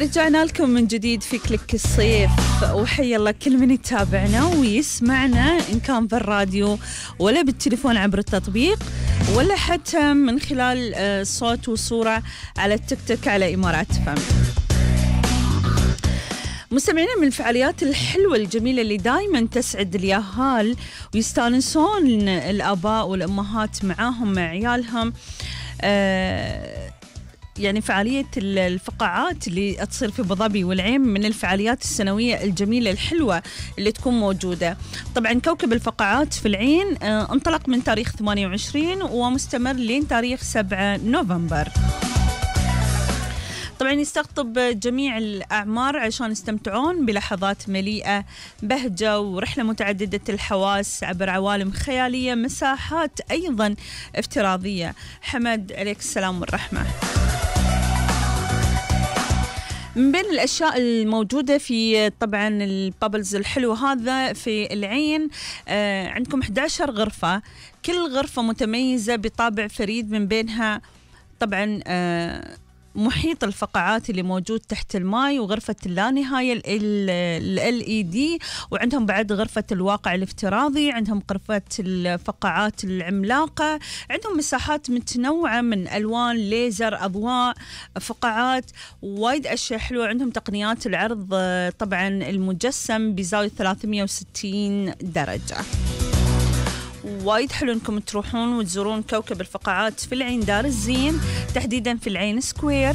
رجعنا لكم من جديد في كليك الصيف، وحيا الله كل من يتابعنا ويسمعنا إن كان بالراديو ولا بالتليفون عبر التطبيق ولا حتى من خلال صوت وصورة على التيك توك على إمارات فم. مستمعين، من الفعاليات الحلوة الجميلة اللي دايما تسعد الياهال ويستانسون الآباء والأمهات معاهم مع عيالهم، يعني فعالية الفقاعات اللي تصير في أبو ظبي والعين من الفعاليات السنوية الجميلة الحلوة اللي تكون موجودة. طبعا كوكب الفقاعات في العين انطلق من تاريخ 28 ومستمر لين تاريخ 7 نوفمبر. طبعا يستقطب جميع الأعمار عشان يستمتعون بلحظات مليئة بهجة ورحلة متعددة الحواس عبر عوالم خيالية، مساحات أيضا افتراضية. حمد عليك السلام والرحمة. من بين الأشياء الموجودة في طبعا البابلز الحلو هذا في العين، عندكم 11 غرفة، كل غرفة متميزة بطابع فريد، من بينها طبعا محيط الفقاعات اللي موجود تحت الماء، وغرفة اللانهاية LED، وعندهم بعد غرفة الواقع الافتراضي، عندهم غرفة الفقاعات العملاقة، عندهم مساحات متنوعة من ألوان، ليزر، أضواء، فقاعات، وايد أشياء حلوة. عندهم تقنيات العرض طبعا المجسم بزاوية 360 درجة. وايد حلو انكم تروحون وتزورون كوكب الفقاعات في العين دار الزين، تحديدا في العين سكوير.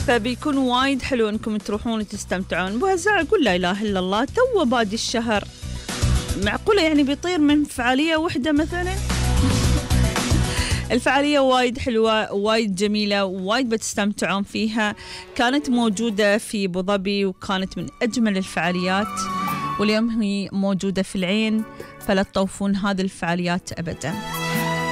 فبيكون وايد حلو انكم تروحون وتستمتعون. بهزاع اقول لا اله الا الله، تو بادي الشهر، معقولة يعني بيطير من فعالية واحدة مثلا؟ الفعالية وايد حلوة وايد جميلة وايد بتستمتعون فيها. كانت موجودة في أبو ظبي وكانت من أجمل الفعاليات، واليوم هي موجودة في العين، فلا تطوفون هذه الفعاليات أبدا.